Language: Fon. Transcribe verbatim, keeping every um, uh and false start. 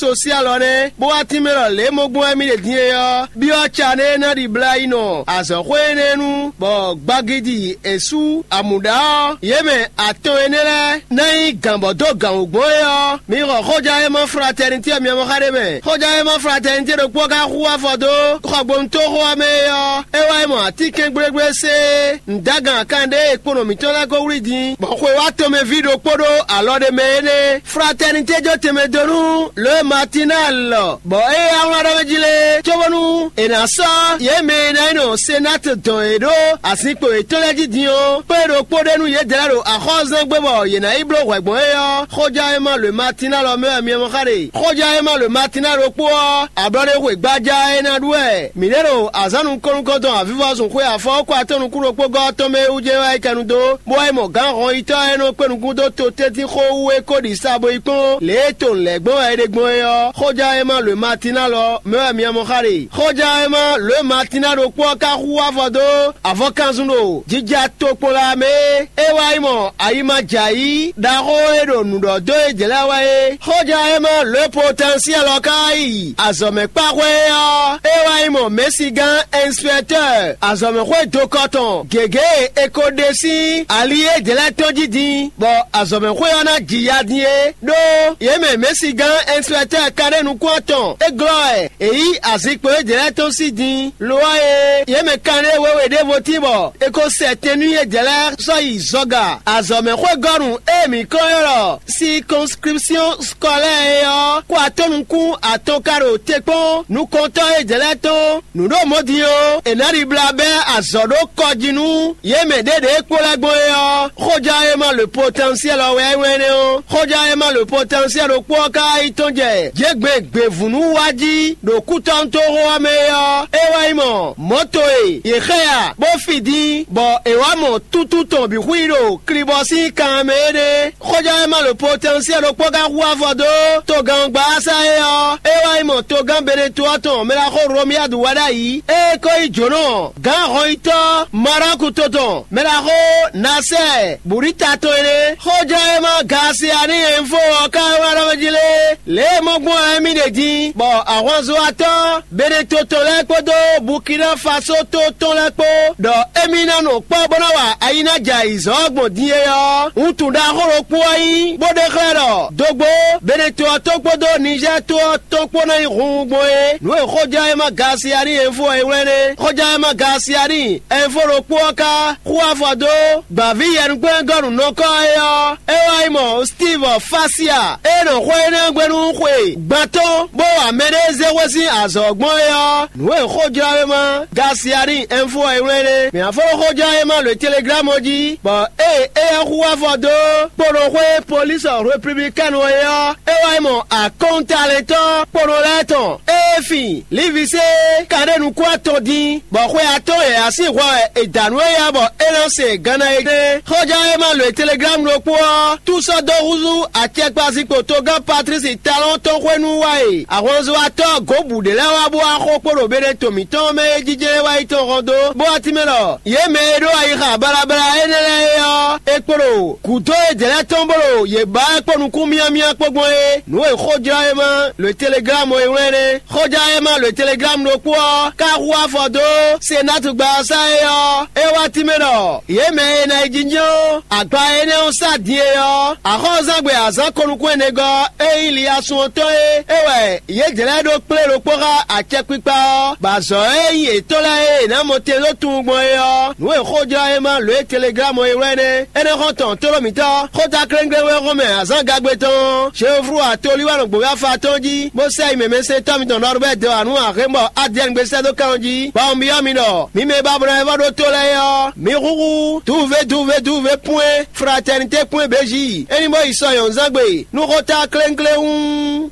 sosial ɔ́ nɛ́, bó wá tínmɛ ɖɔ lě e mɔ gbɔn wɛ mì ɖe din é ɔ́, byɔ́ ca ɖé ná ɖibla yi nɔ azɔ̌xwé énɛ́ nu, bɔ gbagidi e sú amǔɖá ɔ́, yě mɛ atɔn énɛ́ lɛ́ɛ ná nyí gǎn bɔ dó gǎn wú gbɔn é ɔ́, mi xɔ xójá e ma fratɛnitɛ́ ɔ́ miamɔ́ xá ɖé mɛ. Xójá e ma fratɛnitɛ́ ɖokpó ka hu afɔ dó xɔgbónútóxó ɔ́ mɛ é ɔ́, é wá yi mɔ atínkɛngblégblése nǔdágan kanɖé e kponɔ mǐtɔn lɛ́ɛ ko wlí din, bɔ xwe wá tomɛví ɖokpó ɖó alɔ ɖé mɛ énɛ́. Fratɛnitɛ́ jó tɛnmɛ dó nú Lǒ Matinal, bɔ é yá wlán ɖɔ mɛ jí lé, cóbónú è nǎ sɔ́ yě mɛ e ná nyí nɔ Senát dɔn yě ɖó azinkpo yětɔn lɛ́ɛ jí din ɔ́, kpé ɖokpó ɖé nú yědɛɛ lɛ́ɛ ɖo axɔ́zɛ́ngbe bɔ yě ná yi bló hwɛ gbɔn é ɔ́, xójá e ma Lǒ Matinal ɔ́ mɛ wɛ mi mɔ xá ɖe. Xójá e ma Lǒ Matinal ɖokpó ɔ́, ablɔɖexwe gbájá e ná ɖu wɛ mǐ ɖe ɖo azǎn nukɔn-nukɔntɔn avivɔzunxwe afɔwɔ́kɔ atɔ́ nukún ɖokpó gɔ́ ɔ́ tɔn mɛ é wú jɛ wá yi kɛ nu dó, bó wá yi mɔ gǎn hɔnyitɔ́ e nɔ kpé nukún dó totɛ́ntin xó wú é ko ɖi sa bo yi kpɔ́n lě e to lɛ̌ gbɔn wɛ é ɖe gbɔn é ɔ́, xójá e ma Lǒ Matinal ɔ́ mɛ wɛ mi mɔ xá ɖe. Xójá e ma Lǒ Matinal ɖokpó ɔ́ ka hu afɔ dó avɔkanzun ɖo jija tokpɔnla mɛ é. É wá yi mɔ ayi ma jɛ ayǐ ɖaxó e ɖo nǔ ɖɔ dó é jlɛ́ wɛ é. Xójá e ma Lǒ Potɛnsiɛl ɔ́ ka yi azɔ̌ mɛ kpáxwé é ɔ́, é wá yi mɔ mɛ̌sigán ɛnspɛtɔ́ɔ azɔ̌mɛxwé dokɔ tɔn gěgé e è ko ɖe sín ali édɛɛ lɛ́ɛ tɔn jí din, bɔ azɔ̌mɛxwé ɔ́ ná ji ya din é, ɖó yě mɛ mɛ̌sigán ɛnspɛtɔ́ɔ kanɖé nukún atɔn é glɔ́ wɛ è yí azinkpo édɛɛ lɛ́ɛ tɔn sí din. Lo ɔ́ e, yě mɛ kanɖé wěwe ɖěvo tín bɔ è ko sɛ tɛn nú yědɛɛ lɛ́ɛ sɔ́ yi zɔga azɔ̌mɛxwégɔ́nu e mǐ kɔn ylɔ́ ɖɔ circonscription scolaire é ɔ́, kó atɔ́ nukún atɔn ka ɖo te kpɔ́n nukɔntɔ́ édɛɛ lɛ́ɛ tɔn. Nǔ ɖo mɔ̌ din ɔ́, è nǎ ɖibla bɛ́ azɔ̌ ɖó kɔ jí nú yě mɛ ɖěɖě e kpo lɛ́ɛ gbɔn é ɔ́, xójá e ma le potɛnsiɛl ɔ́ wɛ é wɛ́n nɛ́ ɔ́. Xójá e ma le potɛnsiɛl ɖokpó ɔ́ ka yi tɔ́n jɛ jěgbe gběvǔnú wá jí ɖo kútɔ́nútóxó ɔ́ mɛ é ɔ́, é wá yi mɔ mɔ̌to e yě xɛ a, bó fi din, bɔ è wǎ mɔ tútú tɔn bǐ xwí ɖo klibɔ sín kan mɛ é nɛ́. Xójá e ma le potɛnsiɛl ɖokpó ka hu afɔ dó togán gbása é ɔ́, é wá yi mɔ togán Beneto ɔ́ tɔn mɛ ɖaxó Romiyadu wá ɖ'ayǐ. Ée é ko nyí jǒnɔ gǎn hɔnyitɔ́ Maráku to tɔn mɛ ɖaxó Nasɛ́ɛ Burita tɔn é nɛ́. Xójá e ma Gasiani Ɛnfo ɔ́ ka wá ɖɔ mɛ jí lé, lě e mɔ gbɔn wɛ émí ɖe din, bɔ ahwanzɔ́watɔ́ Beneto tɔn lɛ́ɛ kpódó Bukina Faso to tɔn lɛ́ɛ kpó, ɖɔ émí ná nɔ kpɔ́ bó ná wa ayi ná jɛ ayǐzɔ́ gbɔn din é ɔ́, wuntun ɖaxó ɖokpó ɔ́ nyí, bó ɖe xlɛ́ ɖɔ dogbo Beneto ɔ́ tó kpódó Nizɛ́ɛ to ɔ́ tɔn kpó ná nyí hunhun gbɔn é. Nǔ e xójá e ma Gasiani Ɛnfo ɔ́ e wlɛ́n é. Xójá e ma Gasiani Ɛnfo ɖokpó ɔ́ ka xú afɔ dó gbǎví yɛnukpɛ́ngɔ́nǔnɔkɔ́ é ɔ́, é wá yi mɔ Steve Fasia e nɔ xwé énɛ́ gbe nú xwe gbantɔ́, bó wa mɛɖé zé xwé sín azɔ̌ gbɔn é ɔ́, nǔ e xójlɔ́wéma Gasiani Ɛnfo ɔ́ e wlɛ́n é. Mǐ ná fɔ́n xójlɔ́wéma lǒ Teleglámu jí, bɔ ée éyɛ́ xú afɔ dó kponɔxwé Polísɔ Repúblikɛ́nu ɔ́ é ɔ́, é wá yi mɔ akɔ́ntalɛntɔ́ kponɔ lɛ́ɛ tɔn e fin Livisée ka ɖe nukún atɔn din, bɔ xwe atɔ́ɔ́n yǎyá sín hwɛ wɛ è da nǔ éyɛ́ bɔ é nɔ se ganna é ɖe. Xɔján e ma lǒ e Teleglámu ɖokpó ɔ́, tú sɔ́ dó húzú acɛkpazinkpo togán Patlísi Talɔ́ɔn tɔn xwé nú wá e ahwanzɔ́watɔ́ gǒbǔ ɖé lɛ́ɛ wá bó wá xo kpo ɖo Beneto mǐtɔn mɛ e jijɛ wá yi tɔn hɔn dó, bó wá tínmɛ ɖɔ yě mɛ e ɖó ayixa balabala énɛ́ lɛ́ɛ é ɔ́, è kpo ɖo gǔdo e jɛ lɛ́ɛ tɔn bó ɖo yě ba wɛ kpó nukún myámyá kpó gbɔn é. Nǔ e xójlɔ́ e ma lǒ e Teleglámu e wlɛ́n é. Xóján e ma lǒ e Teleglámu ɖokpó ɔ́, ka hu afɔ dó Senatu gbawasa é ɔ́, é wá tínmɛ ɖɔ yě mɛ e ná yi jínjɔ́n agba énɛ́ ɔ́ sá din é ɔ́, axɔ́zangbe azǎn ko nukún ɛnɛgɔ́ e nyí Liyasun ɔ́ tɔn é, é wɛ yě jlɛ́ ɖó kplé ɖokpó xá acɛkpikpa ɔ́, bɔ azɔ̌ e nyí yětɔn lɛ́ɛ e è nǎ mɔ te dó tunwun gbɔn é ɔ́, nǔ e xójlɔ́ e ma lǒ e Teleglámu e wlɛ́n é. Énɛ́ xɔ tɔn tlóló mǐtɔn, xóta kléŋklé wɛ xɔmɛ azǎn gagbe tɔn ɔ́, Jeoflu atolí wɛ nɔ gbǒ afa tɔn jí, bó sɛ yi mɛmɛsɛntɔ́ mitɔn Nɔrubɛ́ dó anu Axémɔ Adiɛngbé sɛ́ dó kɛn ɔ́ jí, bɔ un byɔ́ mi ɖɔ mi mɛ e ba bló wɛ vɔ ɖó to lɛ́ɛ é ɔ́, mi húhú duve duve duve pwɛ́n fratɛnitɛ́ kpɔ́n bějí, é ní bó yi sɔ nyɔ̌nzán gbe nú xóta kléŋklé hú.